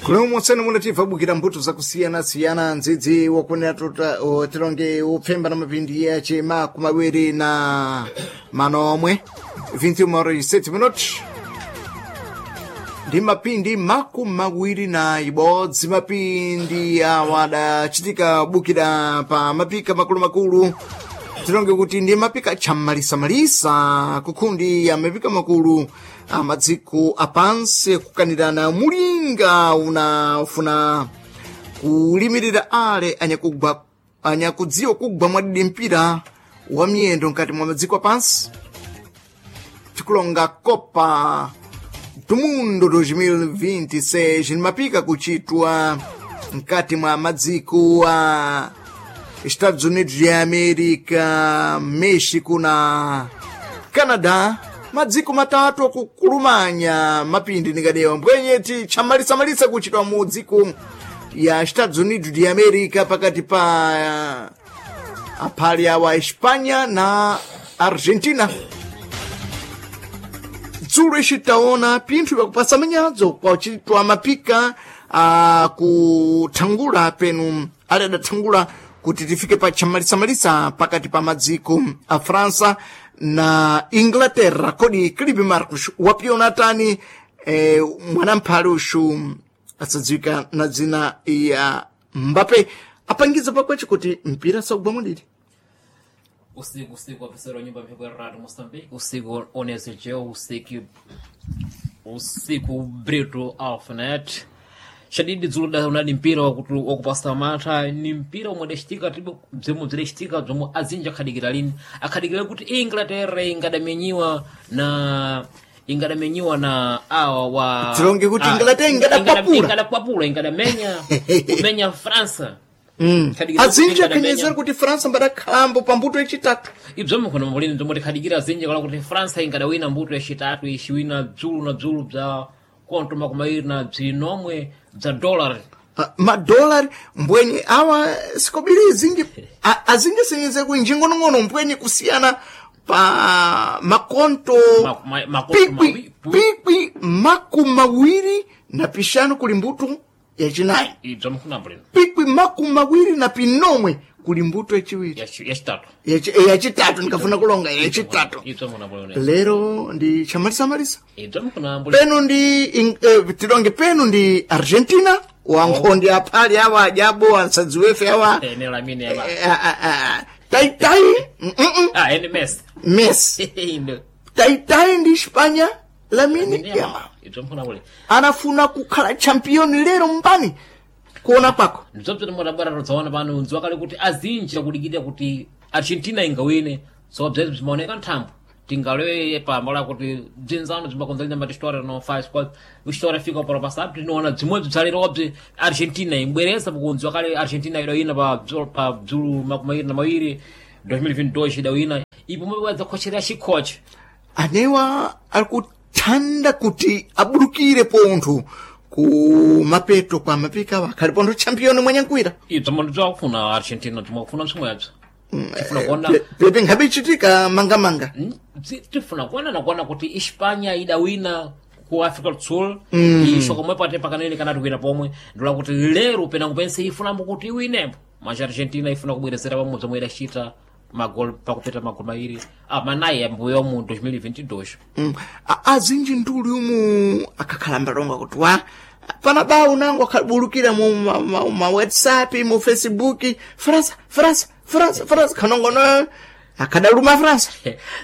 Kulomwe mulativa bukira mbuto zakusiyana-siyana ndzidzi wakunena tilonge upfemba na mapindi yace makumawiri na manomwe 21 minutos ndi mapindi makumawiri na ibodzi mapindi awa adachitika bukira pa mapika makulumakulu tilonge kuti ndi mapika chamalisamalisa kukhundi ya mapika makulu amadziko apansi kukanirana mulinga unafuna kulimirira ale anyakugwa anyakudziwa kugwa mwadidi mpira wa miyendo mkati mwa madziko apansi tikulonga kopa do mundo 2026 mapika kuchitwa mkati mwa madziko a Estados Unidos de América, México na Canadá madziko matatu akukulumanya mapindi ndingadewa mbwenyeti chamalisamalisa kuchitwa mu dziko ya Estados Unidos de América pakati pa aphali awa Espanha na Argentina dzulo ixitaona pinthu vyakupasa manyadzo kwacitwa mapika akuthangula penu ali adathangula kuti tifike pa chamalisamalisa pakati pa madziko a França na Inglaterra kodi Clive Marcos wapiona tani mwanamphale uxu asadziwika na dzina ya Mbappe apangiza pakwece kuti mpira saugwa mwadidi usiku usiku wapesera nyumba mphepo ya radio Moçambique usiku onesejeu usiku usiku Brito Alphanet shadidi dzulo da unali mpira wakupasa mantha ni mpira omwe adacitika tipo bzomwe bzidacitika bzomwe azinji akhadikira lini akhadikira kuti Inglaterra ingadamenyiwa na ingadamenyiwa na awa wa Tilonge kuti Inglaterra ingadakwapula. ingadakwapula ingadamenya kumenya França Khadikira kuti azinji ingadamenya. akhenyezera kuti França mbadakhalambo pa mbuto yacitatu ibzomwe khona mabulini bzomwe tikhadikira zinji kala kuti França ingadawina mbuto yacitatu ixiwina bzulu na bzulu bza konto makumawiri na bzinomwe bza dollar Madolari mbwenye awa sikobiri zinji azinji senyeze ku njingonong'ono mbwenye kusiyana pa makonto Makonto pikwi pikwi makumawiri na pixanu kuli mbuto yacinayi ibzomwe khona mabulini pikwi makumawiri na pinomwe kuli mbuto yaciwiri yacitatu yacitatu ndikafuna kulonga yacitatu ibzomwe khona mabulini lero ndi chamalisamalisa ibzomwe khona mabulini penu ndi tilonge penu ndi argentina wankhondi aphali awa ajabo ansadziwefe awa ene lamine yaba taitai ah ene Messi messi Ndo. taitai ndi espanya lamine Lamine yamal Yamal. ibzomwe khona mabulini anafuna kukhala champion lero mbani kuona kwako ndibzobzoti mwadabwera todzaona pano ndziwa kale kuti azinji akudikirira kuti argentina ingawine so bzezi bzimaoneka nthambo tingalowe pambola kuti bzinzano bzimbakonzalina mati história não faz quase história fica para o passado tinoona bzimwe bzalero bzi argentina imbwereza pakunziwa kale argentina idawina pa bzulu makumawiri na mawiri 2022 idawina ipo mwe khocherera chikhoche anewa ali kuthanda kuti abulukire pontho ku mapeto kwa mapika awa akhali pontho champion mwanyankwira ibzo ndibzakufuna argentina bzimwakufuna msomwe tifuna kuona pepe nkhabe ichitika mangamanga tifuna kuona nakuona kuti Espanha idawina ku Africa do Sul ixo komwe pate pakanene kanati kuwina pomwe ndula kuti lero penango pense ifunambo kuti iwinembo mas Argentina ifuna kubwerezera pamwe zomwe idacita magol pakupeta magol mairi manayi ambuyo mu 2022 Azinji nduli umu akakhala mbalonga kuti wa pana bawu nango akhabulukira mu ma whatsapp mu facebook frança frança frança frança khanongono akadaluma frança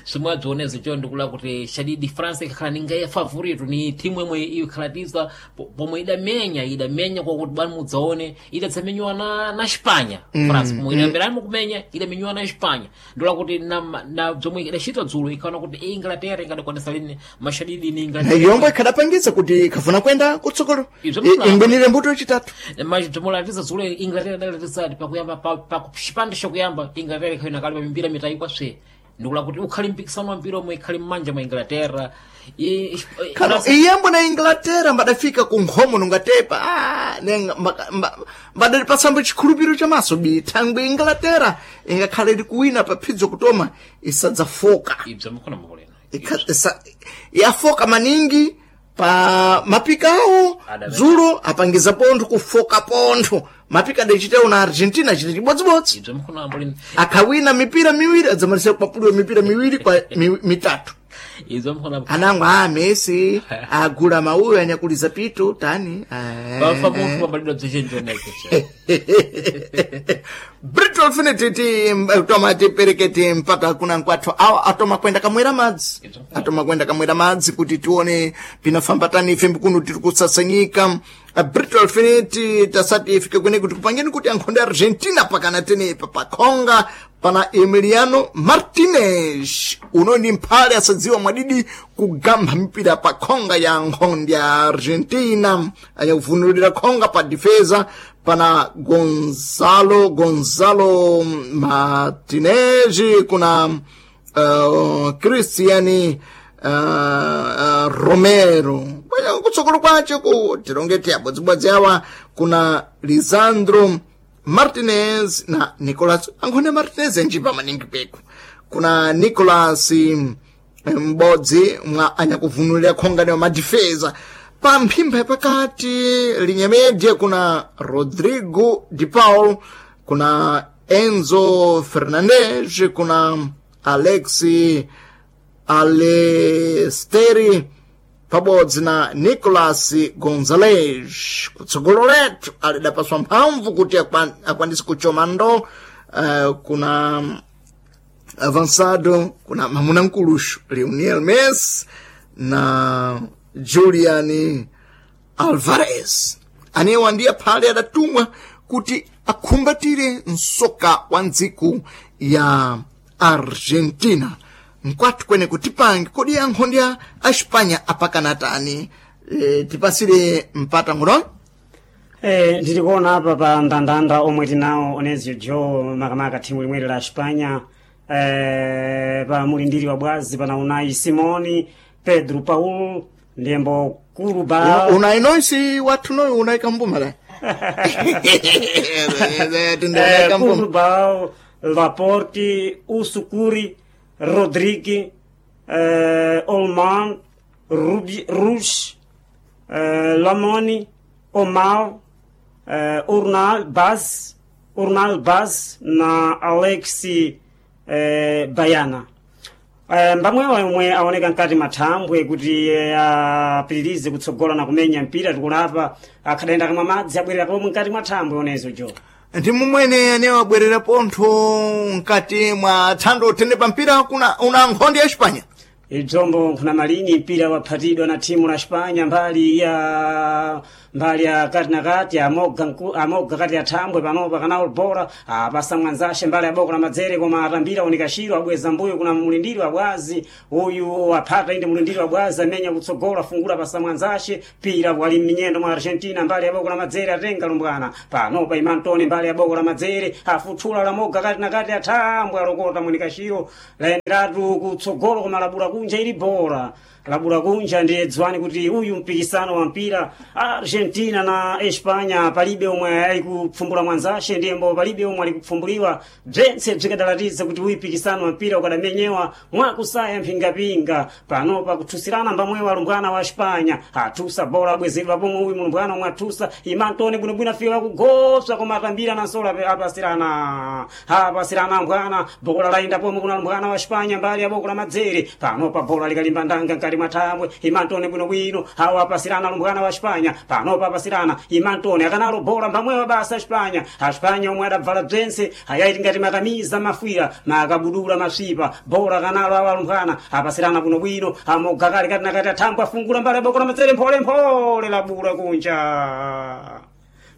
somwe adzioneza cho ndikula kuti shadidi france ikakhala ninga ya favorito ni timu imwe ikhalatiza pomwe idamenya kwakuti bani mudzaone idadzamenyiwa na Espanha france pomwe idamberani kumenya idamenyiwa na Espanha ndikula kuti na zomwe idacita dzulo ikhaona kuti Inglaterra ingadakwanisa lini mashadidi ni na Inglaterra yombo ikhadapangitsa kuti ikhafuna kwenda kutsogolo Ibzo mna- ingwinire mbuto yachitatu machidzomolatiza dzulo Inglaterra idalatiza pakuyamba pa chipande chakuyamba Inglaterra ikhayina kale pamimbira mitayi kwaswe ndikula kuti ukhali mpikisano wa mpira omwe ikhali mmanja mwa Inglaterra Kano iyambo na Inglaterra mbadafika ku nkhomo nungatepa mbadali pasambo chikhulupiriro chamaso bithangwe Inglaterra ingakhale likuwina pa phidzo kutoma isadzafoka ibzo mukhona mukulena Yafoka maningi Pa mapika awo Adamene. dzulo apangiza pontho kufoka pontho mapika adachitawo na Argentina achita chibodzibodzi. Ibzo mkhono ambuli. Akhawina mipira miwiri, adzamalisa kupapuliwa mipira miwiri kwa mitatu. Ibzo mkhono. Anango a Messi agula mauyo anyakuliza pito tani. Bafa munthu pambalidwa bzichenji oneke. Brito Infinity ti toma tipereketi mpaka kuna nkwathu awa atoma kwenda kamwera madzi, atoma kwenda kamwera madzi kuti tione pinafamba tani ife mbikuno tiri kusasanyika. Brito Infinity tasati ifike kwene kuti kupangeni kuti ankhonde Argentina pakana tenepa pakhonga pana Emiliano Martinez uno ni mphale asadziwa mwadidi kugamba mipira pa khonga ya nkhonde ya Argentina, anyakuvunulira khonga pa defesa pana Gonzalo Martinez, kuna Cristian Romero. Bwana, kutsogolo kwace ku tilongeti abodzibodzi awa kuna Lisandro Martinez na Nicolas. Ankhone Martinez enjipa maningi peku kuna Nicolas m'bodzi mwa anyakuvunulira khonga wa madifeza. Pa mphimba yapakati linyamedye kuna Rodrigo de Paul, kuna Enzo Fernandez, kuna Alexi Alesteri pabodzi na Nicolas Gonzalez. Kutsogolo letu alidapaswa mphamvu kuti akwanise kuchoma ndo kuna avançado kuna mamuna mkuluxu Lionel Messi na Julian Alvarez, anewa ndiye phale adatumwa kuti akhumbatire msoka wa ndziku ya Argentina. Nkwathu kwene kutipange kodi ankhondi a Espanya apakana tani? Tipasire mpata nguno. Ndiri kuona apa pa ndandanda omwe tinawo Onezio Joe, makamaka thimu limweri la Espanya, pa mulindiri wa bwazi pana Unai Simoni, Pedro Paul ndiyembo Kuruba. Unai noisi wathu noyo unai kambuma la. Kurubal, Laporte, Usukuri, Rodrigue, Olman, Rubi, Rouge, Lamoni, Omar, Urnal Baz, Urnal Baz na Alexi Bayana. Mbamwewa omwe aoneka mkati mathambwe kuti apitirize kutsogola na kumenya mpira tikulapa akhadayenda kamwa madzi abwerera pomwe mkati mwa thambwe onezo jo. Ndi mumwene ane wabwerera pontho mkati mwa thando uthene pa mpira kuna una nkhondi ya Espanya. Ibzombo nkhuna malini mpira waphatidwa na thimu la Espanya mbali ya kati na kati amoga amoga kati ya thambwe panopa kana bora apasa mwanzashe mbali ya boko la madzere koma atambira unikashiro abweza mbuyo kuna mulindiri wa bwazi uyu aphata inde mulindiri wa bwazi amenya kutsogola afungula pasa mwanzashe pira wali mminyendo mwa Argentina mbali ya boko la madzere atenga lumbwana panopa imantoni mbali ya boko la madzere afuthula la moga kati na kati ya thambwe alokota munikashiro laenderatu kutsogolo koma labula kunja ili bora labula kunja. Ndiye dziwani kuti uyu mpikisano wa mpira Argentina na Espanya palibe omwe alikupfumbula mwanzashe ndiyembo palibe omwe alikupfumbuliwa bzentse bzikadalatiza kuti uyu mpikisano wa mpira ukadamenyewa mwakusaya mphingapinga. Panopa kuthusirana mbamwewa alumbwana wa Espanya athusa bola abwezedwa pomwe uyu mulumbwana omwe athusa imantone bwinobwino afika kugoswa koma atambira nansolo apasirana apasirana mbwana bola layenda pomwe kuna lumbwana wa Espanya mbali ya boko la madzere. Panopa bola likalimba ndanga mkati mwa thambwe imantone bwinobwino awo apasirana lumbwana wa Espanya. Panopa apasirana imantone akanalo bola mbamwewa basa Espanya Espanya omwe adabvala bzense ayaiti ngati makamiza mafwira makabudula masvipa bola kanalo awo alumbwana apasirana bwinobwino amoga kali kati nakati athambwe afungula mbali ya boko la madzere mpholemphole labula kunja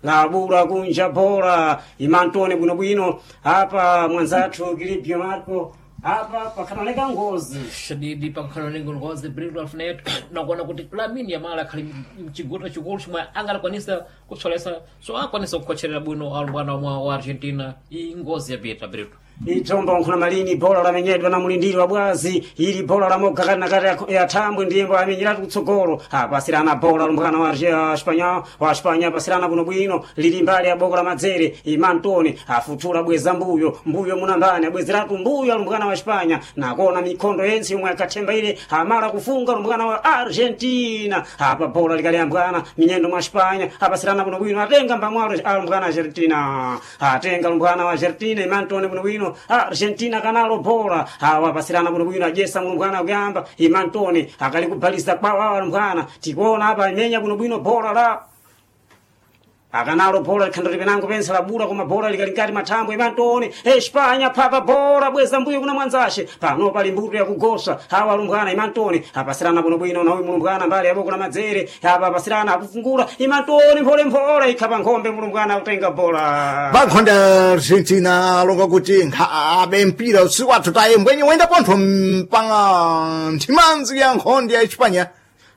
labula kunja bora imantone bwinobwino apa mwanzathu Kilipio Marco apa pakhanaleka ngozi. Shadidi pakhala nengo ngozi Brito Alfineto nakuona kuti Lamine Yamal akhali mchigota chikulu chomwe angalakwanisa kutsolesa so akwanisa kukhocherera bwino alumbwana omwe wa Argentina iyi ngozi yapita Brito. Itsombo nkhuna malini bola lamenyedwa na mulindiri wa bwazi ili bola la moga kati na kati ya thambwe ndiyembo amenyeratu kutsogolo apasirana bola lumbwana wa Espanya wa Espanya apasirana bwinobwino lili mbali ya boko la madzere imantoni afuthula bweza mbuyo mbuyo munambani abwezeratu mbuyo alumbwana wa Espanya nakona mikhondo yense yomwe akathemba ile amala kufunga lumbwana wa Argentina apa bola likaliyambwana minyendo mwa Espanya apasirana bwinobwino atenga mbamwalo alumbwana Argentina atenga lumbwana wa Argentina imantoni bwinobwino Argentina kanalo bora awa pasirana bwinobwino ajesa mulumbwana kuyamba imantoni akali kubhalisa kwawo awa lumbwana tikuona apa imenya bwinobwino bora la akanalo bora likhandati penango pensa labura koma bora likali nkati mathambo imantoni Espanya phata bora bweza mbuyo kuna mwanzashe pano pali mbuto yakugosa awa alumbwana imantoni apasirana bwinobwino na uyu mulumbwana mbali yaboko na madzere apa apasirana akufungula imantoni mpholemphole ikhapa nkhombe mulumbwana akutenga bora Bankhonde Argentina alonga kuti nkhabe mpira usiku wathu taye mbwenye wenda pontho mpanga nthimanzi ya nkhonde ya Espanya.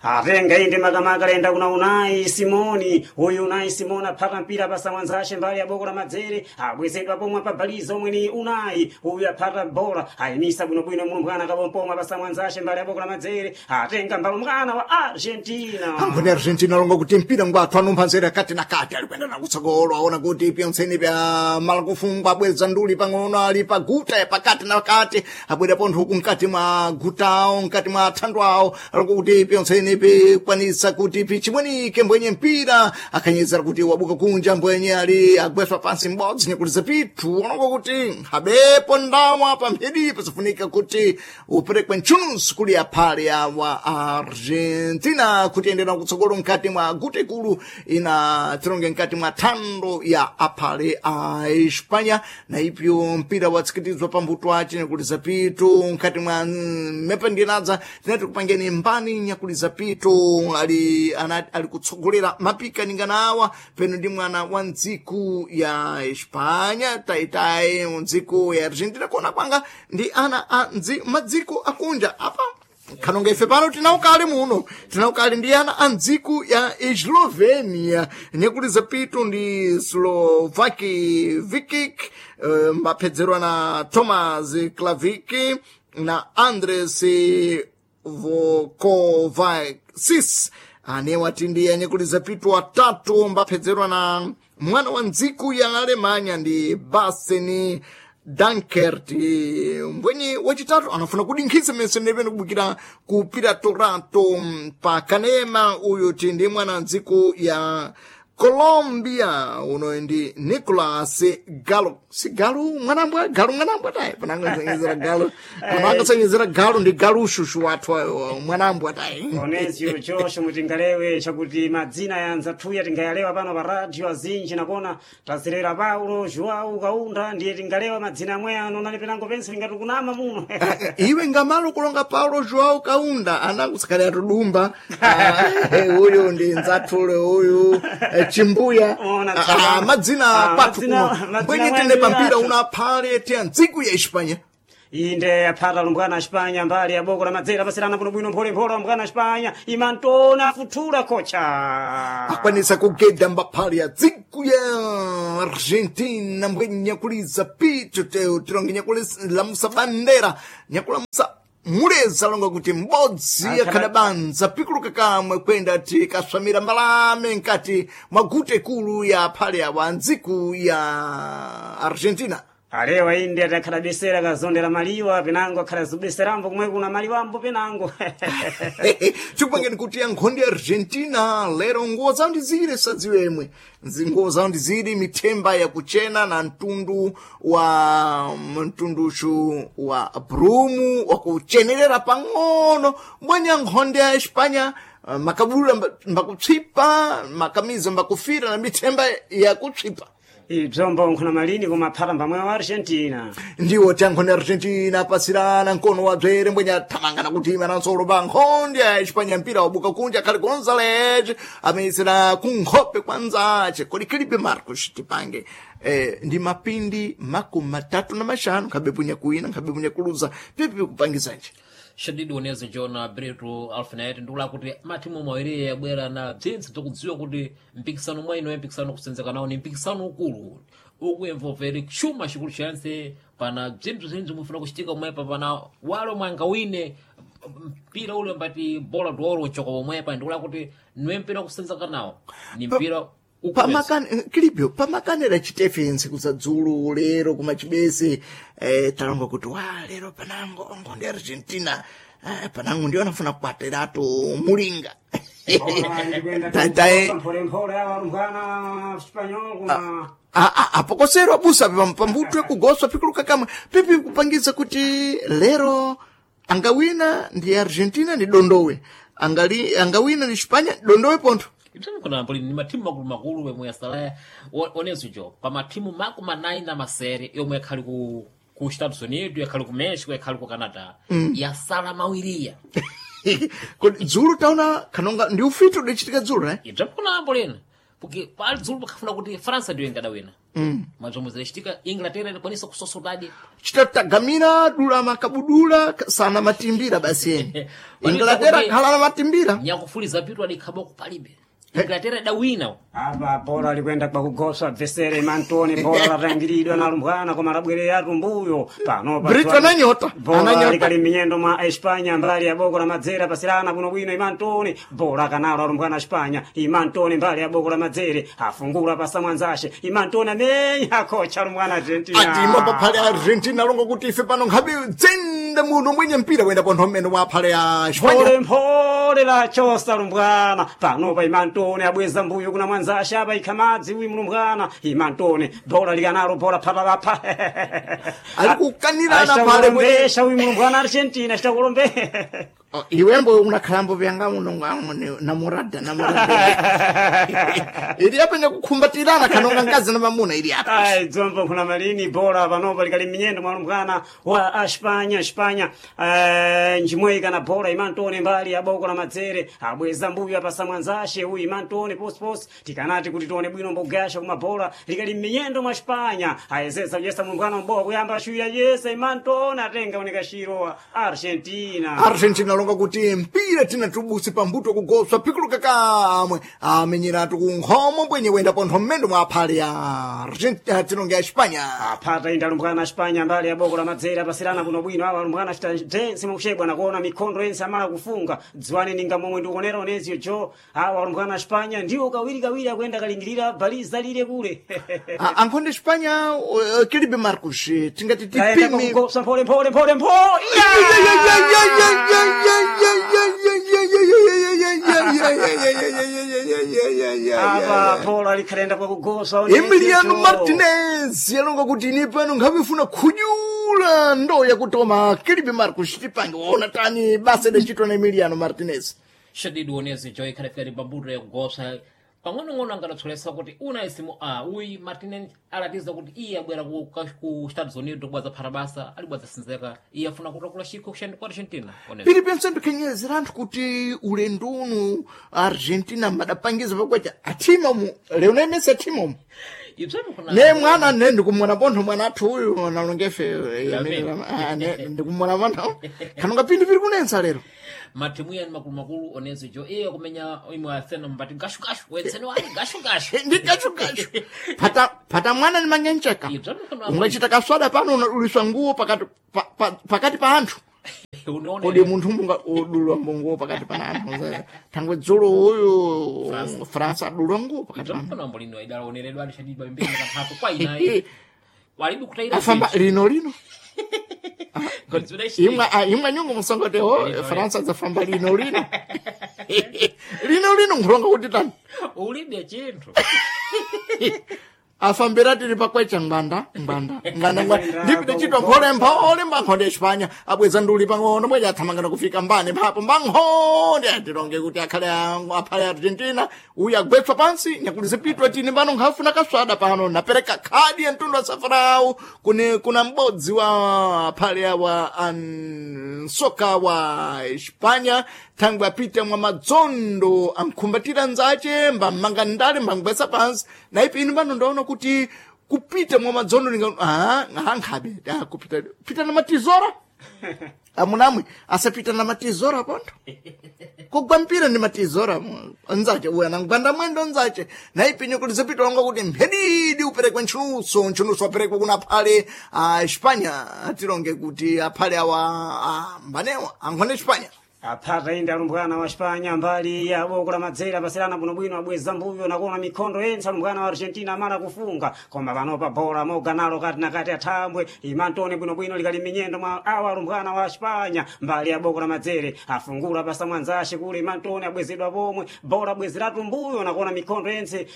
Atenga inde makamaka lenda kuna Unai Simoni uyu Unai Simoni aphata mpira pasa mwanzashe mbali ya boko la madzere abwezedwa pomwe pabaliza omwe ni Unai uyu aphata bola ayimisa bwinobwino mulumbwana kabompomwe pasa mwanzashe mbali ya boko la madzere atenga mbalumbwana wa Argentina Ankhonde Argentina alonga kuti mpira ngwathu anumphanzere kati na kati ali kuyenda na kutsogolo aona kuti pyontseni pya mala kufungwa abweza nduli pang'ono ali pa guta ya pakati na kati abwera pontho huku mkati mwa gutawo mkati mwa thandu awo alonga kuti pyontseni pikwanisa kuti pichimwenike mbwenye mpira akhanyezera kuti wabuka kunja mbwenye ali agweswa pansi m'bodzi nyakuliza pithu alonga kuti nkhabepo ndawa pamphedi pasafunika kuti uperekwe ntchununso kuli aphale awa Argentina kuti endera kutsogolo mkati mwa guta ikulu ina tironge mkati mwa thando ya aphale a Espanya na ipyo mpira watsikitizwa pambuto ace nyakuliza pitu mkati mwa mepa ndinadza tinati kupangeni mbani nyakuliza pitu ali, ali kutsogolera mapika ningana awa peno ndi mwana wa ndziku ya Espanya taitayi ndziku ya Argentina kuona kwanga ndi ana a madziko akunja apa khanonga ife pano tinaukali muno tinaukali ndi ana a ndziku ya Eslovenia nyakuliza pitu ndi Slovaki Vikic mbaphedzerwa na Thomas Klaviki na Andres Vokovacis anewa tindi anyakuliza pitu atatu mbaphedzerwa na mwana wa ndziku ya Alemanya ndi Baseni Dankert mbwenye wachitatu anafuna kudinkhisa mesene pene kubukira ku Piratorato pa kanema uyu tindi mwana wa ndziku ya Colombia uno ndi Nicolas Galo si Galo mwanambwa Galo mwanambwa tayi panangasanyizira Galo panangasanyizira Galo ndi Galo shushu wathu mwanambwa tayi Onezio Josh mutingalewe chakuti madzina ya nzathuya tingayalewa pano pa radio azinji nakona tazilera Paulo Joao Kaunda ndiye tingalewa madzina amwe ano nali penango pense lingati kunama muno iwe ngamalo kulonga Paulo Joao Kaunda anangusakhale atudumba uyu ndi nzathule uyu chimbuya madzina kwathu kuno mbwenye tine pampira una aphale tiya ndziku ya Espanya inde aphata lumbwana Espanya mbali ya boko la madzera pasirana bwinobwino mpholemphole lumbwana Espanya imantona afuthula kocha akwanisa kugeda mbaphale ya dziku ya Argentina mbwenye nyakuliza pitu tironge nyakulamusa bandera nyakulamusa muleza longa kuti m'bodzi akhadabanza pikuluka kamwe kwenda tikaswamira mbalame nkati mwa guta ikulu ya phale awa ndziku ya Argentina alewa inde atakhala besera kazondera maliwa penango akhala zubeserambo kumwe kuna maliwambo penango tikupangeni kuti ya nkhondo ya Argentina lero nguwo zawo ndi zile sadziwemwe nguwo zawo ndi zili mithemba yakuchena na mtundu wa mtunduchu wa brumu wakuchenerera pang'ono mbwenya nkhondo ya Espanya makabudula mbakutswipa makamiza mbakufira na mithemba yakutswipa ibzombo nkhuna malini kumaphata mbamwe wa Argentina ndiwo tiyankhonde Argentina apasirana mkono wa bzere mbwenye athamangana kuti imananso pa nkhonde ya Espanya mpira wabuka kunja khali Gonzalez ameyesera kunkhope kwa nzace kodi Felipe Marcos tipange ndi mapindi 35 nkhabe punya kuina nkhabe punya kuluza pipi kupangizanje. Shadidi onezi jona Brito Alfinet ndikula kuti matimu mawiri yabwera na bzintsi bzakudziwa kuti mpikisano mwaino mpikisano kusenzeka nawo ni mpikisano ukulu ukuemvovere chuma chikulu chanse pana bzinthu zinthu mufuna kuchitika pomwepa pana walo mwangawine mpira ule mbati bola doro uchoka pomwepa ndikula kuti niwe mpira kusenzeka nawo ni mpira Pamakane kilipyo pamakanera chitefe ntsiku za dzulo lero kumachibese talonga kuti wa lero panango ongo ndi Argentina panango ndiyo anafuna kupateratu mulinga. Ta- Mpholemphole awa alumbwana Espanyol kuma Apokosero abusa pambutwe kugoswa pikuluka kamwe pipi kupangiza kuti lero angawina ndi Argentina ndi dondowe angali angawina ndi Spanya dondowe pontho. Ibzani poli ni matimu makulu makulu yomwe yasalaya onezo jo pa matimu makumi anayi na masere yomwe yakhali ku Estados Unidos yakhali ku Mexico yakhali ku Canada yasala mawiriya. Kodi dzulo taona kanonga ndi ufiti udachitika dzulo eh? Ibzani kunambo lena porque pali dzulo pakafuna kuti França ndiyo ingadawina mazomwe zidachitika Inglaterra idakwanisa kusosotadi. Chitatagamira dula makabudula sana matimbira basi eni Inglaterra khala na matimbira. Nyakufuliza pitu adikhaboko palibe Inglaterra idawina. Apa bora likwenda kwa kugosa bvesere Mantoni bora latangiridwa na lumbwana koma labwereratu mbuyo pano pa Brito ananyota, bora ananyota. likali minyendo mwa Espanya mbali ya boko la madzere pasirana buno bwino Imantoni bora kanalo alumbwana Espanya Imantoni mbali ya boko la madzere afungula pasa mwanzashe Imantoni amenya kocha alumbwana Argentina. Atima paphale Argentina longa kuti ife pano nkhabe dzenda muno mwenye mpira wenda pontho mmene wa phale ya Espanya. Mphole mphole la chosa lumbwana panopa Imantoni abweza mbuyo kuna mwanzashe apa ikhamadzi uyu mlumbwana Imantoni bora likanalo bora phapapapha. Ali kukanirana phale mwenye Achitakulombesha uyu mlumbwana Argentina achitakulombe. Oh, iwembo unakhalambo vyanga muno ngamwe namurada namurada ili apa nyakukhumbatirana kanonga ngazi na mamuna ili apa. Ai dzombo kuna malini bora panopa likali minyendo mwa mlumbwana wa Espanya Espanya njimwe kana bora Imantoni mbali ya boko la madzere abweza mbuyo apasa mwanzashe uyu Imantoni posi tikanati kuti tione bwino mbogasha kuma bora likali minyendo mwa Espanya ayezesa kuyesa mlumbwana mbowa kuyamba ashuya yesa Imantoni atenga oneka wa Argentina. Argentina longa kuti mpira tina tubusi pambuto kugoswa pikuluka kamwe amenyeratu kunkhomo mbwenye wenda pontho mmendo mwa aphale ya Argentina tinonga ya Espanya. Apata inda alumbwana Espanya mbali ya boko la madzere apasirana kuno bwino awa alumbwana achita dzense mukuchebwa nakuona mikhondo yense amala kufunga dziwani ninga momwe ndikuonera oneziyo jo awa alumbwana Espanya ndiwo kawiri kawiri akuyenda kalingirira baliza lile kule. Ankhonde Espanya Kilibe Marcos tingati Kaenda tipime kugosa mphole mphole mphole mphole. Apa bola likhalenda kwa kugosa oneziyo Emiliano jo. Martinez yalonga kuti ine pano nkhavifuna khunyula ndo yakutoma Kilibe Marcos tipange waona tani basa idachitwa na Emiliano Martinez. Shadidi onezi jo ikhalafika ni pambuto yakugosa pang'onong'ono angadatsolesa kuti una isimu a uyi Martinez alatiza kuti iye abwera ku Estados Unidos kubwaza phata basa alibwaza sinzeka iye afuna kutakula chikho ku Argentina onezi. Pili pense ndikhenyezera anthu kuti ulendo uno Argentina madapangiza pakwacha athima mu Lionel Messi athima umu Ibzani kuna ne mwana ne ndikumwona pontho mwana athu uyu nalongefe Lamine. ndikumwona pontho kanonga pinthu pili kunensa lero. Matimu yani makulu makulu onezi jo iye kumenya imwe asena mbati gashu gashu wensene wali gashu gashu. Ndi gashu gashu pata pata mwana ni manyencheka Ibzani kuna ungachita kaswada pano unaduliswa nguo pakati pakati pa anthu. unaona Kodi munthu munga udulwa nguo pakati pa anthu thangwe dzulo uyu Fransa adulwa nguo pakati pa Ibzani anthu. kuna mbolino idalaoneredwa ali Shadidi pambeni katatu kwa inayi walibu kutaira Afamba lino lino Zidaishi- imwe imwe nyungu musongote ho Lino, Fransa dzafamba lino lino lino lino nkhulonga kuti tani ulibe chinthu. Afambira tiri pakwecha ngwanda ngwanda ngwanda ngwanda ndipite chitwa mphole mphole mbankhonde Espanya abweza nduli pang'ono bweja athamangana kufika mbane mphapo mbankhonde atilonge kuti akhale aphale Argentina uyu agwetswa pansi nyakulizipitwa tini pano nkhafuna kaswada pano napereka khadi ya mtundu wa safarawu kune kuna m'bodzi wa aphale awa ansoka wa Espanya thangwe apite mwa madzondo ankhumbatira nzace mbamanga ndale mbangwetsa pansi naipi inu pano ndaona kuti kupita mwa madzondo ninga ah nkhabe kupita pita na matizora. Amunamwe asapita na matizora pontho. Kugwa mpira ndi matizora nzache uya nangwanda mwendo nzache naipinyo kuti zipita longa kuti mphedidi uperekwe ntchunuso ntchunuso aperekwe kuna aphale a Espanya atilonge kuti aphale awa a mbanewa ankhone Espanya. Aphata inde alumbwana wa Espanya mbali ya boko la madzera pasirana bwinobwino abweza mbuyo nakuona mikhondo yense alumbwana wa Argentina amala kufunga koma panopa bola moga nalo kati na kati athambwe imantone bwinobwino likali minyendo mwa awa alumbwana wa Espanya mbali ya boko la madzere afungula pasa mwanzashe kule imantone abwezedwa pomwe bola abwezeratu mbuyo nakuona mikhondo yense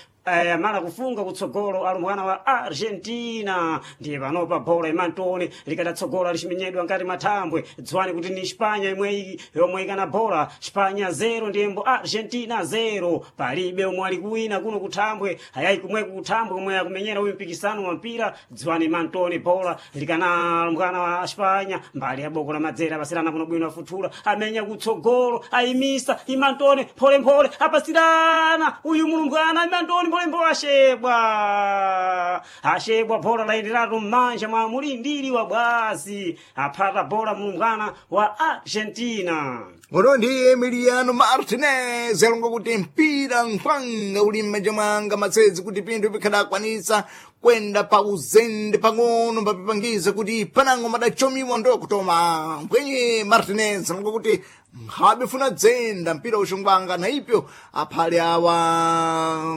amala kufunga kutsogolo alumbwana wa Argentina ndiye panopa bola imantone likadatsogola lichiminyedwa ngati mathambwe dziwani kuti ni Espanya imwe yomwe ikana bola Espanya 0 ndiyembo Argentina 0 palibe omwe ali kuwina kuno kuthambwe ayayi kumweko kuthambwe omwe akumenyera uyu mpikisano wa mpira dziwani mantoni bola likana alumbwana wa Espanya mbali ya boko la madzera apasirana kuno bwino afuthula amenya kutsogolo ayimisa imantone pholemphole apasirana uyu mulumbwana imantoni pholemphole ashebwa ashebwa bola layenderatu m'manja mwa mulindiri wa bwazi aphata bola mulumbwana wa Argentina. Ngono ndi Emiliano Martinez alonga kuti mpira nkhwanga uli m'manja mwanga matsezi kuti pinthu pikhadakwanisa kwenda pa uzende pang'ono mbapipangiza kuti panango madachomiwa ndokutoma mbwenye Martinez alonga kuti nkhabe funa dzenda mpira uxongwanga na ipyo aphale awa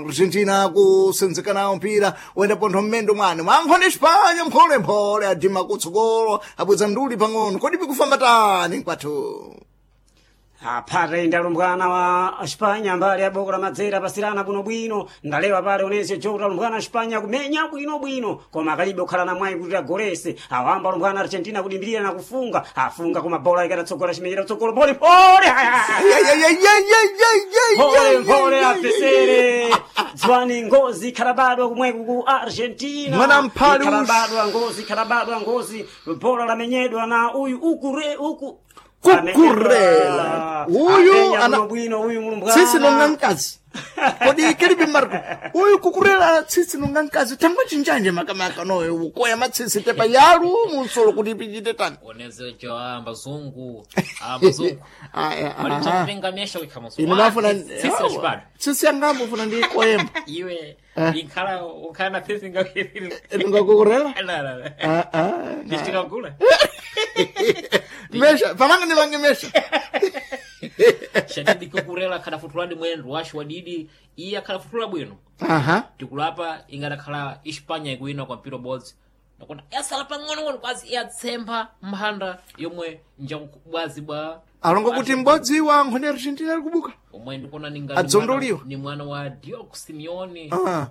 Argentina kusenzeka nawo mpira wenda pontho mmendo mwane mwankhone Espanya mpholemphole adima kutsogolo abweza nduli pang'ono kodi pikufamba tani mkwathu. Aphata inde alumbwana wa Espanya mbali ya boko la madzera pasirana bwinobwino ndalewa pale onese jota alumbwana Espanya kumenya bwinobwino koma akalibe kukhala na mwayi kuti agolese awamba alumbwana Argentina kudimbirira na kufunga afunga koma bola ikadatsogola chimenyera kutsogolo pole pole pole pole apesere dziwani ngozi ikhalabadwa kumweku ku Argentina Mwana mphali ush. ikhalabadwa ngozi ikhalabadwa ngozi bola lamenyedwa na uyu ukure uku Kukurela. Uyu ana- bwino uyu mulumbwana tsitsi nonga mkazi kodi kilipi Marco uyu kukurela tsitsi nonga mkazi tangwa chinjanje makamaka noyo ukoya matsitsi tepa yalu munsolo kuti pichite tani. Onezejo ambazungu ambazungu Aya, aha. malichakutenga mesha wikhamuso Inu mafuna tsitsi lachibadwa tsitsi yangambo funa ndi koyemba iwe inkhala ukhala na tsitsi ndingakukurela. La la la Ah, ah. ndichikagula Mesha pananga ndivange mesha. Shadidi kukurela akhadafutuladi mwendo washu wadidi iye akhadafutula bwino Aha. tikulapa ingadakhala Espanya ikuwina kwa mpira ubodzi nakona yasala pang'onong'ono kwazi iyatsempha mphanda yomwe njakubwazi bwa Alongo kuti m'bodzi wa nkhoni Argentina ali kubuka. omwe ndikuona ninga Adzondoliwa. ni mwana wa Diego Simeone. Ah.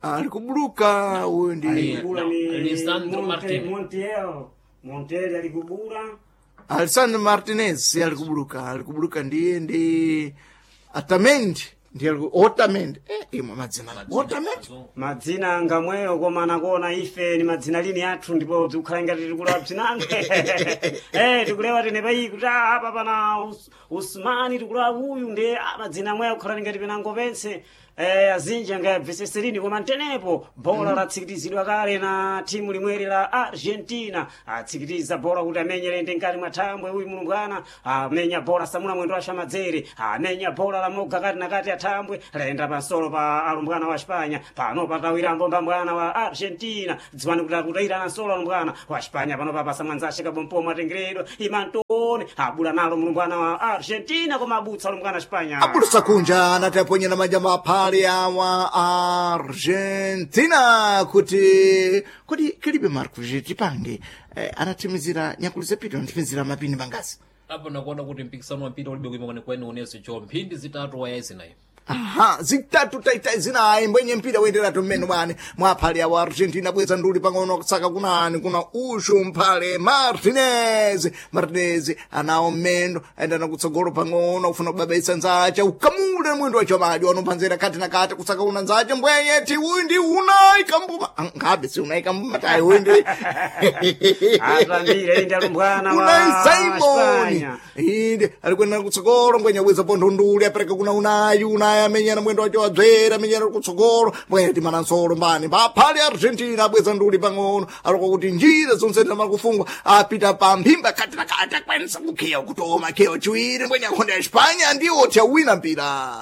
Ali kubuluka uyu ndi Alikubula ni Lisandro Martinez. Montiel Montiel alikubula Alessandro Martinez alikubuluka alikubuluka ndiye ndi Otamendi ndiye Otamendi imwe madzina Otamendi madzina ngamweyo koma nakuona ife ni madzina lini athu ndipo tikukhala ngati tikulewa bzinange tikulewa tene payi kuti ah, apa pana Usmani tikulewa uyu ndi madzina amweyo akukhala ngati penango pense azinji angayabveseserini koma ntenepo bola latsikitizidwa kale na timu limweri la Argentina atsikitiza bola kuti amenyere ndi nkati mwa thambwe uyu mulumbwana amenya bola samuna mwendo wa shamadzere amenya bola la moga kati na kati athambwe layenda pansolo pa alumbwana wa Espanya pano patawirambo mbambwana wa Argentina dziwani kuti akutayirana nsolo alumbwana wa Espanya pano papasa mwanzashe kabompomo atengeredwa imantone abula nalo mulumbwana wa Argentina koma abutsa alumbwana wa Espanya abulusa kunja anati aponyera manja maphale awa Argentina kuti kodi kilibe Marco tipange anathimizira nyakulu zepito anathimizira mapini mangazi Apo nakuona kuti mpikisano wa mpira ulibe kuima kwenikweni uneso cho mphindi zitatu waya zinayi. Aha, zitatu taitai zinayi mbwenye mpira wenderatu mmene mwane mwaphale awa Argentina bweza nduli pang'ono kusaka kunani kuna ushu mphale Martinez Martinez anawo mmendo ayendana kutsogolo pang'ono kufuna kubabaisa nzacha ukamule mwendo wacho madyo anophanzera kati na kati kusaka una nzacha mbwenye ti uyu ndi unayi kambuma ngabe si unayi kambuma tayi uyu ndi Atambire indi alumbwana wa Unai Simon Espanya. inde alikwenda kutsogolo ngwenya bweza pontho nduli apereka kuna unayi unayi. naye amenyana mwendo wacho wadzera amenyana kutsogolo mbwene timanansolo mbani mbaphale Argentina abweza nduli pang'ono aloko kuti njira zonse zamakufungwa apita pa mphimba kati na kati akwanisa kukhiya kutoma khiya chiwiri mbwene akhonde ya Espanya ndiwo tiyawina mpira.